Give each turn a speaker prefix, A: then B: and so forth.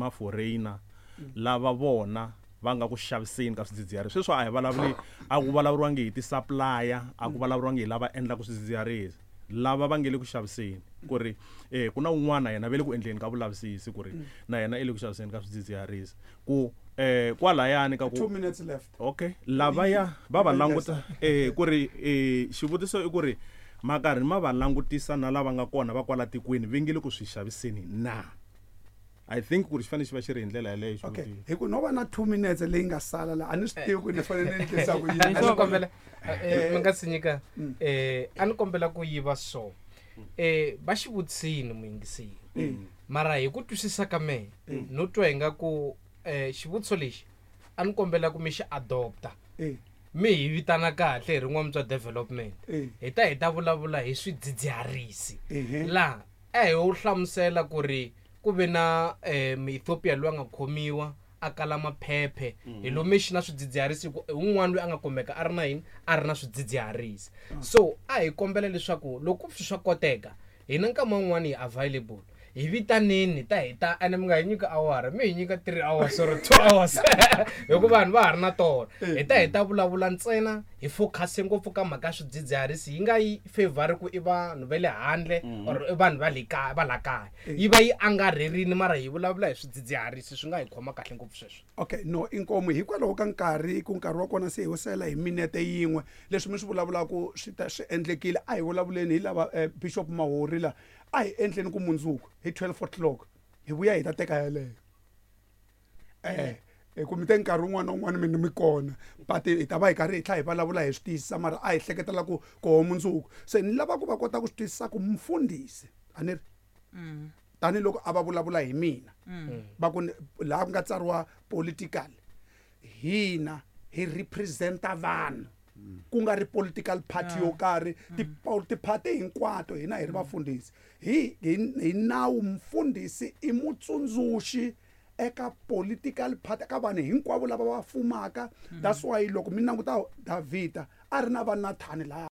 A: Ma-foreigner lava vona va nga ku xaviseni ka swidzidziharisi sweswo, a hi vulavuli, a ku vulavuriwangi hi ti-supplier, a ku vulavuriwangi hi lava endlaka swidzidziharisi, lava va nge le ku xaviseni, ku ri ku na un'wana yena ve le ku endleni ka vulavisisi ku ri na yena i le ku xaviseni ka swidzidziharisi, ku kwalayani ka ku
B: 2 minutes left.
A: Okay, lavaya va va languta ku ri xivutiso i ku ri makarhi ma va langutisa na lava nga kona va kwala tikweni va nge le ku swi xaviseni na? I think ku ri xi fanele xi va xi ri hi ndlela yaleyo.
B: Okay.
A: Xivutiso.
B: Hi ku no va na 2 minutes leyi nga sala la, a ni swi tivi ku ni fanele ni endlisa ku yini.
C: A ni kombela, mi nga si nyika, a ni kombela ku yiva so va xi vutisini muyingiseri, mara hi ku twisisa ka mehe no twa hi nga ku xivutiso lexi a ni kombela ku mi xi adopta, mi hi vitana kahle hi rin'wana bya development, hi ta vulavula hi swidzidziharisi. Laha a hi wu hlamusela ku ri ku ve na Muethiopia loyi a nga khomiwa a kala maphephe, hi lomu xi na swidzidziharisi, hi ku i wun'wana loyi a nga kumeka a ri na yini, a ri na swidzidziharisi. So a hi kombela leswaku loko swi swa koteka, hina nkama wun'wani hi available, hi vitaneni ta hi ta, ene mi nga hi nyika awara, mi hi nyika 3 hours or 2 hours, hikuva vanhu va ha ri na tona. Hi ta vulavula ntsena, hi focus ngopfu ka mhaka ya swidzidziharisi, yi nga yi favor ku i vanhu va le handle or i vanhu va le kaya, va la kaya, yi va yi angarherini, mara hi vulavula hi swidzidziharisi, swi nga hi khoma kahle ngopfu sweswo.
B: Okay, no, inkomu. Hikwalaho ka nkarhi, ku nkarhi wa kona se hi wo sela hi minete yin'we, leswi mi swi vulavulaka swi ta swi endlekile. A hi vulavuleni hi lava Bishop Mahori la, a hi endleni ku mundzuku hi 12 o'clock hi vuya hi ta teka yeleyo, hi ku mi te nkarhi wun'wana na wun'wana mi kona, but hi ta va hi karhi hi tlhela hi vulavula hi swi tiyisisa, mara a hi hleketela ku koho mundzuku se ni lava ku va kota ku swi twisisa ku mufundhisi a ni ri tanihiloko a va vulavula hi mina, va ku laha ku nga tsariwa political, hina hi representa vanhu, ku nga ri political party yo karhi. Tiparty hinkwato, hina hi ri vafundhisi, hi nawu mufundhisi i mutsundzuxi eka political party, eka vanhu hinkwavo lava va fumaka. That's why loko mi languta Davhida a ri na va Nathani laya.